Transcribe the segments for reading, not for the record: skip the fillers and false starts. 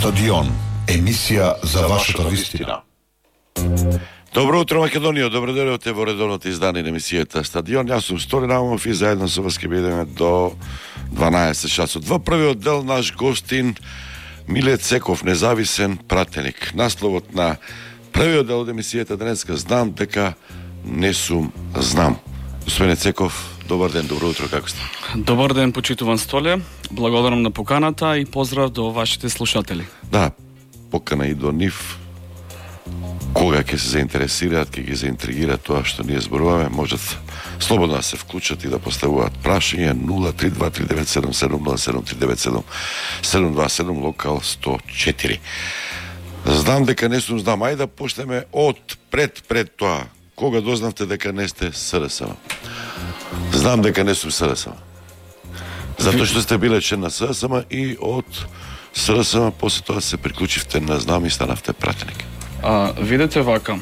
Стадион, емисија за вашата вистина. Добро утро, Македонија, добро дојдовте во редовното издание на емисијата Стадион. Јас сум Стори Наумов и заедно со вас ќе бидеме до 12 часот. Во првиот дел наш гостин Миле Цеков, независен пратеник. Насловот на првиот дел од емисијата денеска знам дека не сум знам. Господине Цеков, добар ден, добро утро, како сте? Добар ден, почитуван Столе. Благодарам на поканата и поздрав до вашите слушатели. Да, покана и до нив. Кога ќе се заинтересираат, ќе ги заинтригира тоа што ние зборуваме, можат слободно да се вклучат и да поставуваат прашања 0323977 0737 локал 104. Знам дека не сум знам, ајде да почнеме од пред тоа. Кога дознавте дека не сте СДСМ? Знам дека не сум СДСМ. Затоа што сте биле член на СДСМ и од СДСМ после тоа се приклучивте на знам и станавте пратеник. Видете вака.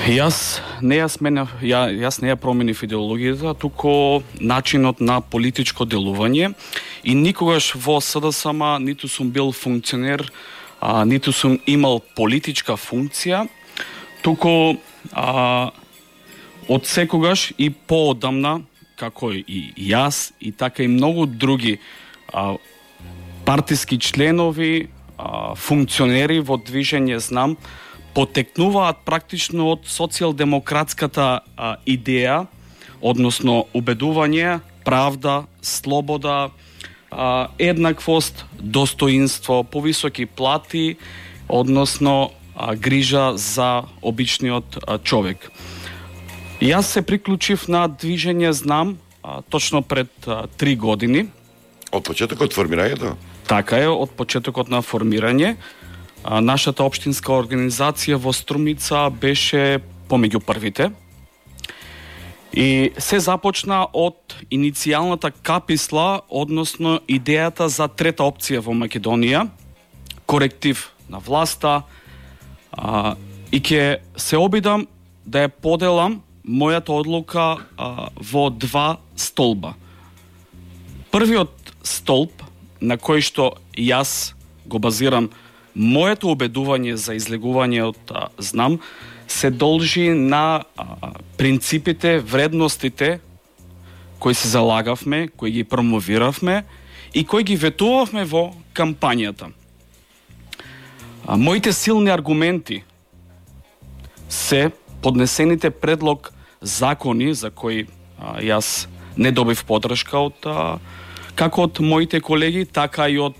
Јас не ја променив идеологијата, туку начинот на политичко делување и никогаш во СДСМ ниту сум бил функционер, ниту сум имал политичка функција, туку од секогаш и поодамна, како и јас и така и многу други партиски членови, функционери во движење знам, потекнуваат практично од социјалдемократската идеја, односно убедување, правда, слобода, еднаквост, достоинство, повисоки плати, односно грижа за обичниот човек. Јас се приклучив на движење знам точно пред 3 години. Од почетокот формирањето? Така е, од почетокот на формирање. Нашата општинска организација во Струмица беше помеѓу првите. И се започна од иницијалната каписла, односно идејата за трета опција во Македонија, коректив на власта, и ќе се обидам да ја поделам мојата одлука во 2 столба. Првиот столб на кој што јас го базирам моето убедување за излегување од знам, се должи на принципите, вредностите кои се залагавме, кои ги промовиравме и кои ги ветувавме во кампањата. Моите силни аргументи се поднесените предлог закони за кои јас не добив поддршка од како од моите колеги, така и од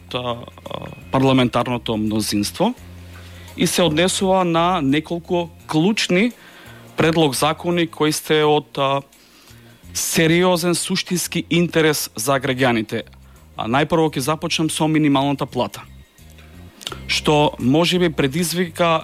парламентарното мнозинство и се однесува на неколку клучни предлог закони кои сте од сериозен суштински интерес за граѓаните. Најпрво ќе започнам со минималната плата, што можеби предизвика